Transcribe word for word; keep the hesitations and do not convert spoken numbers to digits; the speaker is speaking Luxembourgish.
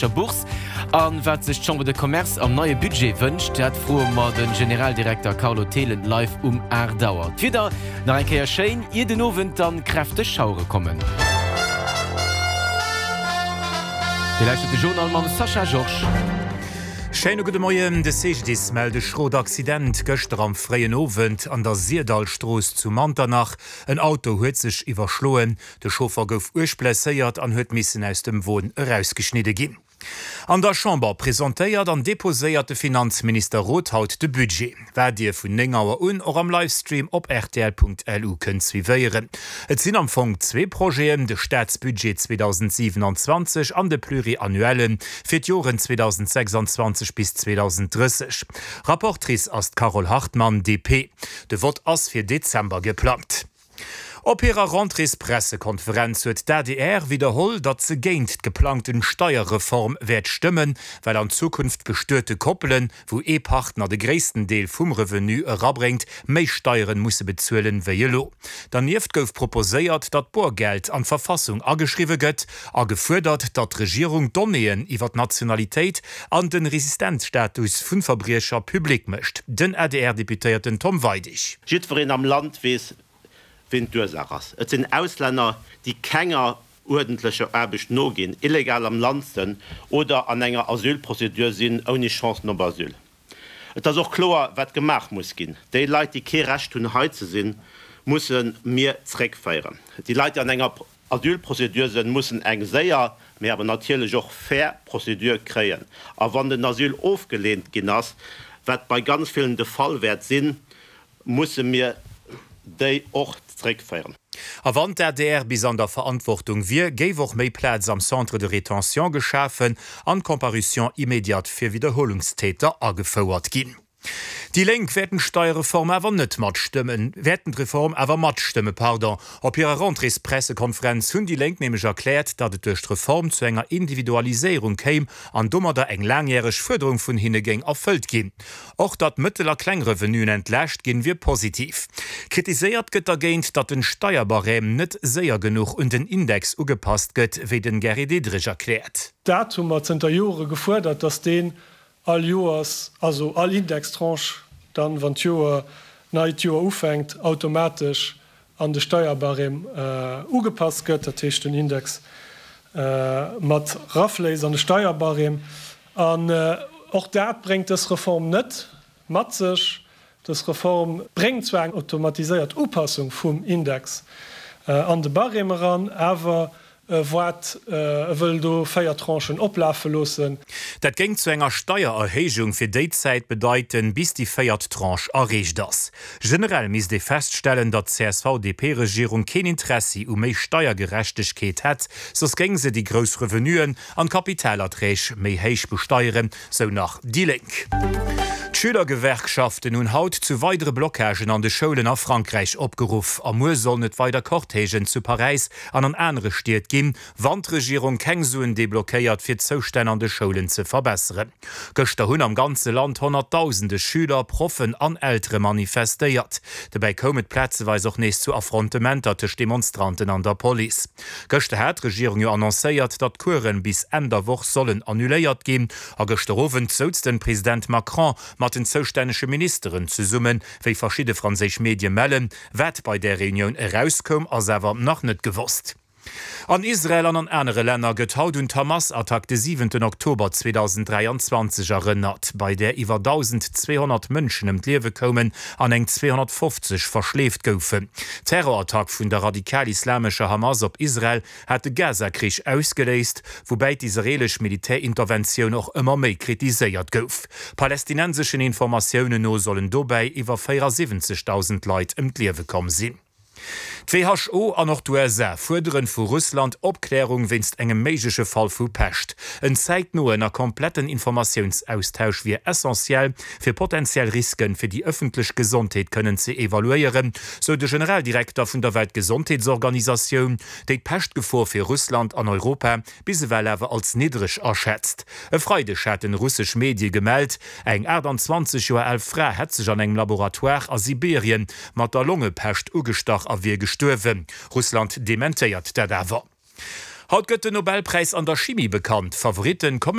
Bourse. A wat sech d'Chambre de Commerce am neie Budget wënscht, dat froe mer de Generaldirekter Carlo Thelen live um aacht Auer. D'Wieder nach eng Kéier schéin, ier den Owend dann kräfteg Schauere kommen. Dir lauschtert de Journal mam Sascha Georges. Schéine gudde Moien, De C G D I S mellt e schrot Accident gëschter am fréien Owend an der Syrdallstrooss zu Manternach. En Auto huet sech iwwerschloen, de Chauffer gouf uerg blesséiert an huet missen aus dem Won erausgeschnidde ginn. An der Chamber presentéiert an deposéiert de Finanzminister Roth haut de Budget, wat Dir vun néng Auer un och am Livestream op rtl Punkt L U kënnt suivéieren. Et sinn am Fong zwee Projeten, de Staatsbudget zweedausendsiwenanzwanzeg an de Pluriannuelle fir d'Joren zweedausendsechsanzwanzeg bis zweedausendrësseg. Rapportrice ass d'Carole Hartmann, D P. De Vott ass fir Dezember geplangt. Op hirer Rentréespressekonferenz huet d'A D R widderholl, datt se géint d'geplangten Steierreform wäert stëmmen, well an Zukunft bestuete Koppelen, wou ee Partner de gréissten Deel vum Revenu erabréngt, méi Steieren musse bezuelen wéi elo. Dernieft gouf proposéiert, datt Borgeld an d'Verfassung ageschriwwe gëtt a gefuerdert, datt d'Regierung Donnéeën iwwer d'Nationalitéit an de Residenzstatus vu Verbriecher public mécht. Den A D R-Deputéierten Tom Weidig. Jiddwereen am Land weess, wien d'Ursaach ass. Et sinn Auslänner, déi kenger uerdentlecher Aarbecht noginn, illegal am Land sënn oder an enger Asylprozedur sinn, ouni Chancen op Asyl. Et ass och kloer, wat gemaach muss ginn. Déi Leit, déi kee Recht hunn, hei ze sinn, musse mir zréckféieren. Déi Leit, déi an enger Asylprozedur sënn, mussen eng séier, mee awer natierlech och fair Prozedur kréien. A wann den Asyl ofgeleent ginn ass, wat bei ganz villen de Fall wäert sinn, musse mir déi och zréckféieren. A wann d'A D R bis an der Verantwortung wier, géif och méi Plaz am Centre de rétention geschafen an d'Comparution immédiate fir Widderhuelungstäter agefouert ginn. Déi Lénk wäerten d'Steierreform awer net matstëmmen, wäerten d'Reform awer matstëmmen, pardon. Op hirer Rentréespressekonferenz hunn déi Lénk nämlech erkläert, datt et duerch d'Reform zu enger Individualiséierung kéim an domadder eng laangjäreg Fuerderung vun hinne géing erfëllt ginn. Och datt mëttel a kleng Revenuen entlaascht ginn, wier positiv. Kritiséiert gëtt dergéint, datt den Steierbarème net séier genuch un den Index ugepasst gëtt, wéi den Gary Diderich erkläert. Dat hu mer zënter Jore gefuerdert, datt deen all Joers, also all Indextranche dann, wann d'Joer, neit Joer ufänkt, automatesch an de Steierbarème ugepasst gëtt, dat heescht den Index mat rafléisst an de Steierbarème. An och dat bréngt dës Reform net mat sech. Dës Reform bréngt zwar eng automatiséiert Upassung vum Index an de Barème eran, awer wat e wëll do véier Tranchen oplafe loossen. Dat géing zu enger Steiererhéijung fir déi Zäit bedeiten, bis déi véiert Tranche erreecht ass. Generell misst ee feststellen, datt d'C S V-D P-Regierung keen Interessi u méi Steiergerechtegkeet hätt, soss géing se déi grouss Revenuen an d'Kapitalerträg méi héich besteieren, sou nach déi Lénk. D'Schülergewerkschaften hunn haut zu weidere Blockagen an de Schoulen a Frankräich opgeruff. A muer sollen et weider Cortègen zu Paräis an an anere Stied ginn, wann d'Regierung keng Suen deblockéiert, fir d'Zoustänn an de Schoulen ze verbesseren. Gëschter hunn am ganze Land honnertdausende Schüler, Proffen an Eltere manifestéiert. Dobäi koum et plazeweis och nees zu Affrontementer tëscht Demonstranten an der Police. Gëschter hat d'Regierung jo annoncéiert, datt d'Coursen bis Enn der Woch sollen annuléiert ginn. A gëschter Owend souz den President Macron mat den zoustännege Ministeren zesummen, wéi verschidde franséisch Medie mellen. Wat bei där Reunioun erauskoum, ass awer nach net gewosst. An Israel an an anere Länner gëtt haut un d'Hamas-Attack de siwenten Oktober zweedausenddräianzwanzeg erënnert, bei där iwwer dausendzweehonnert Mënschen ëm d'Liewe koumen an eng zweehonnertfofzeg verschleeft goufen. D'Terrorattack vun der radikal-islamescher Hamas op Israel hat de Gaza-Krich ausgeléist, woubäi d'israeelesch Militärinterventioun och ëmmer méi kritiséiert gouf. Palästinenseschen Informatiounen no sollen dobäi iwwer véierasiwwenzegdausend Leit ëm d'Liewe komm sinn. D'W H O an och d'U S A fuerderen vu Russland Opklärung wéinst engem méigleche Fall vu Pescht. En zäitnoen a kompletten Informatiounsaustausch wier essentiell, fir potentiell Risken fir déi ëffentlech Gesondheet kënnen ze evaluéieren, sou de Generaldirekter vun der Weltgesondheetsorganisatioun, déi d'Peschtgefor fir Russland an Europa bis ewell awer als niddreg aschätzt. E Freideg haten russesch Medie gemellt, eng aachtanzwanzeg Joer al Fra hätt sech an engem Laboratoire a Sibirien mat der Longepescht ugestach a wier gestuerwen. Russland dementéiert dat awer. Haut gëtt den Nobelpräis an der Chimie bekannt. Favoritten kommen